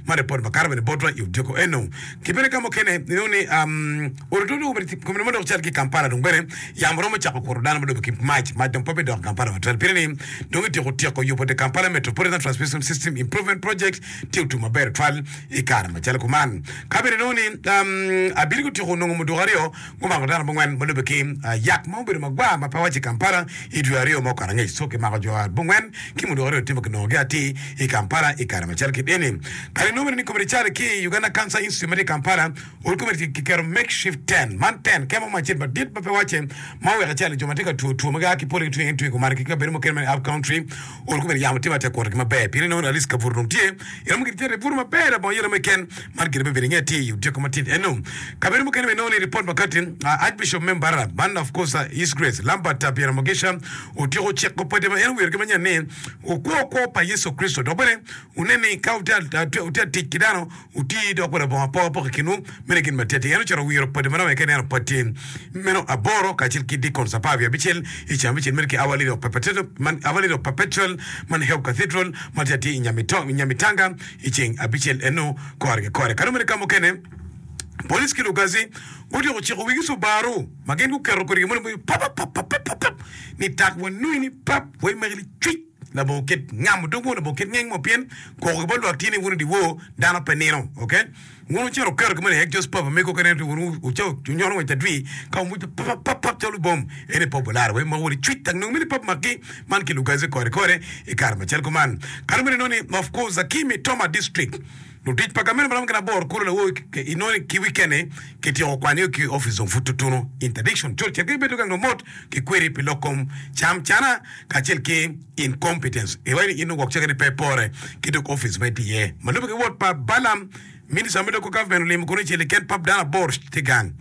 Man ripot makato bene botwa i odiko eno. Ki bene ka mukene inongo ni orututu komine ma dok cal ki i Kampala dong bene yamo romo cako kuto dano ma dong ki mac. Mac dong pe bidok i Kampala matwal pien ni dong ityeko tyeko yubo The Kampala Metropolitan Transmission System Improvement Project tye otum maber tutwal i kare macalo kuman. Ka bene inongo ni abili gutyeko nongo muduku aryo Gumako dano abongwen ma lubbe ki yak ma obedo magwar ma pe waco i Kampala i dwe aryo ma okato angec. So kimako jo abongwen ki muduku aryo tye ma kinongogi atir i Kampala i kare macalo kit eni. Kare inongo bene ni komiti calo ki i Uganda Cancer Institute ma tye i Kampala ol komiti kiketo makeshift tent. Man tent kema mo acel madit ma pe wace ma oweko icalo jo ma tye ka two two ma gia ki pole ki twinge twinge kumalo ki kabedo mukene ma i up country ol komiti yamo tye ma tye ka kutogi maber pien inongo ni at least kabuto dong tye iromo gin cito ibuto maber labongo yelo mo keken. Man gire me bedo inge atir i odyeko matin eno. Kabedo mukene bene inongo ni ripot ma kati Archbishop me Mbarara man of course His Grace Lambert Byeromugisha otyeko ciko padi ma en owiro ki manyen ni wukwo kwo pa Yecu Kricito dok bene wunen ni ka wutye a tic ki dano wuti dok bene labongo apokapoka i kinwu. Meno gin ma tye atir. En ocito owiro padi ma romo ka ineno padi meno aboro kacel ki deacons apar wiye abicel i ceng abicel meno ki Our Lady of Perpetual man Help Cathedral ma tye atir i Nyamitanga. I ceng abicel eno kore ki kore. Kadi omene ka mukene, police ki lugazi gutyeko ciko wigi Subaru ma gin guketo kwede gin moni papapapapapap ni tak wanui ni pap wai magi licwic labongo kit ngamo dog mo labongo kit ngeng mo pien koko ki bot lwak tye ni wun i dyewor dano pe nino ok. Wun wucito wuketo gin moni i exhaust pipe mego ka ineno wun wunyono ngwec adwi ka wumuco papapapap calo bom ene pe obolaro wai moko licwic tak nongo mini pap maki man ki lugazi kore kore i kare macel kuman. Kare meno inongo ni of course ki i Mitoma district lutic pa gamente maromo gin aboro kulu lawor inongo ni ki weekend ni kityeko kwanyo ki office dong pud tutunu interdiction col cit ka ibedo gang dong mot ki kweri pi lok kom cam cana kacel ki incompetence iwaco ni in dong gwok ceke ni pe pore ki dog office ma itye iye ma lube ki wot pa Balaam Minista me local government olimo kunu icel i ken pap dano aboro tye gang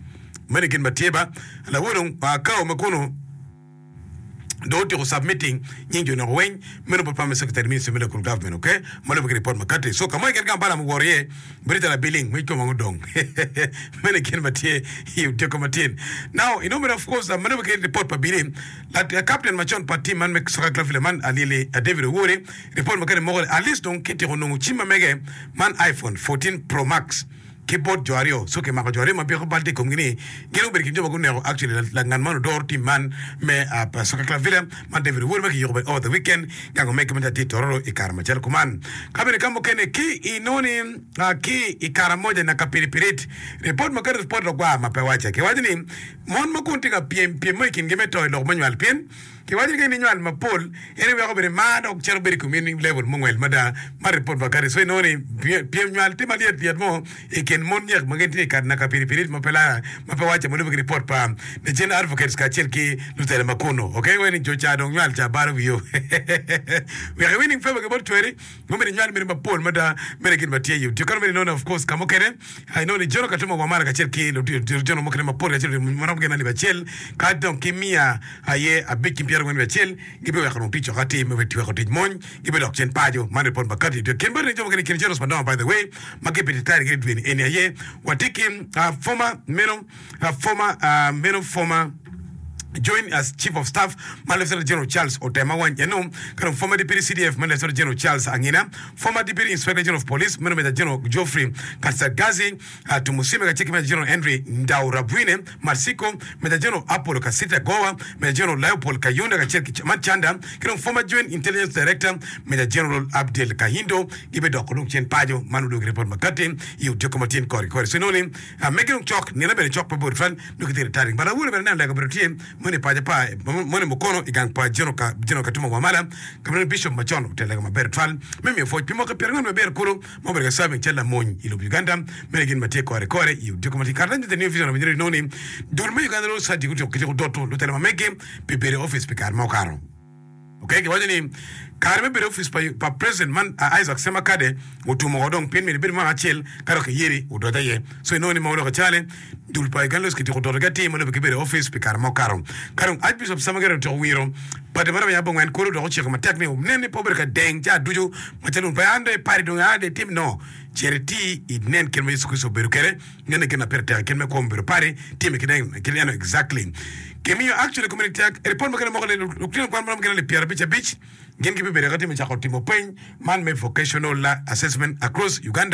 meno i gin ma tye ba lawor dong kao ma kunu dong otyeko submitting nying jo noko weng meno bot permanent secretary ministry me local government ok ma lube ki report ma kati so ka mo keken gang Balaam oworo iye bedo calo abiling ma kome weng odong meno i gin ma tye i otyeko matin now inongo bene of course ma lube ki report pa bili Captain macon pa team man me Soccer Club Villa man Alili David Owori report ma kene moko ni at least dong kityeko nongo cim ma mege man iPhone 14 Pro Max ki bot jo aryo so kimako jo aryo ma byeko bal tye i komgi ni gin gubedo i kin jo ma guneko actually langan man odoro team man me Soccer Club Villa man David Owori ma kiyiko bene over the weekend gang omege ma tye i Tororo i kare macalo kuman. Ka bene ka mukene ki inongo ni ki i Karamoja Nakapiripirit report ma kene report lagwar ma pe wace kiwaco ni Mon ma kun tye ka pyem pyem mo i kingi me to i lok me nywal pien kiwaco ni ka in inywal mapol en iweko bene mar dok cito bedo i komi ni level mungwel mada ma report pa kadi so inongo ni pyem nywal tye malyet lyet mo i kin mon nyek ma gin tye i naka piripirit ma pe lara ma pe wace ma lube ki report pa the gender advocates kacel ki lutela ma kunu ok wai ni jo ca dong nywal ca balo wiyo wek i winning favor ki bot cweri ma myero inywal mene mapol mada mene gin ma tye i odiko mene inongo of course ka mukene inongo ni Jono Katuma Wamala kacel ki lutino mukene mapol kacel maromo gin alip acel ka dong ki miya aye abic ki pyerangwen wiye acel gibiweko dong tic woko atir me weko tic mony gibidok cen paco. Man ripot ma kati i kin bot jo mukene i kin generals madongo by the way ma gibititari gin i dwe ni eni aye watye ki former meno former meno former join as Chief of Staff ma Lieutenant General Charles Otema Wany eno ka dong former Deputy CDF ma Lieutenant General Charles Angina, former Deputy Inspector General of Police meno Major General Geoffrey Katsagazi Tumusime kacel ki Major General Henry Ndaurabwine Matsiko, Major General Apollo Kasita Gowa, Major General Leopold Kayonda kacel ki man Chanda ki dong former Joint Intelligence Director Major General Abdel Kahindo gibidoko dong cen paco man odwogi ripot makati i odiko ma tyen kore ki kore. So inongo ni Megi dong cok, nino bene cok pe bor tutwal, nongo kitye retiring. But awobe bene aneno lega obedo tye moni i paco pa moni mukono i gang pa General Ka General Katuma Wamala, ka ma Bishop macon otelo lega maber tutwal me miyo pwoc pi mwaka pyerangwen me abiro kulu ma obedo ka serving calo lamony i lobo Uganda. Meno gin ma tye kore kore i odiko ma tye kare The New Vision owinyo ni ni dul me Uganda Law Society gutyeko kityeko doto lutela ma megi pi bedo i opic pi kare ma okato. Ok, giwaco ni kare me bedo i opic pa, pa president man Isaac Ssemakadde otum woko dong pien myero ibed mwaka acel ka dok iyeri odoc aye. So inongo ni ma oloko cale dul pa Uganda Lawyers kityeko dotogi atir ma lube ki bedo i opic pi kare ma okato. Ka dong Archbishop Ssemakadde otyeko wiro padi ma romo abongwen kulu dok ociko matek ni nen ni pe obedo ka deng ca ducu macalo un pe an dong i padi dong a dong itim no cit iti inen kit ma Yecu Kricito obedo kwede. Ngene gin ma pire tek i kit me kwo me bedo padi time ki neno exactly. Kimiyo actually komiti tek i report mukene moko ni lutino kwan maromo gin alip pyerabic abic gin gibibedo ka timo cako timo peny man me vocational assessment across Uganda.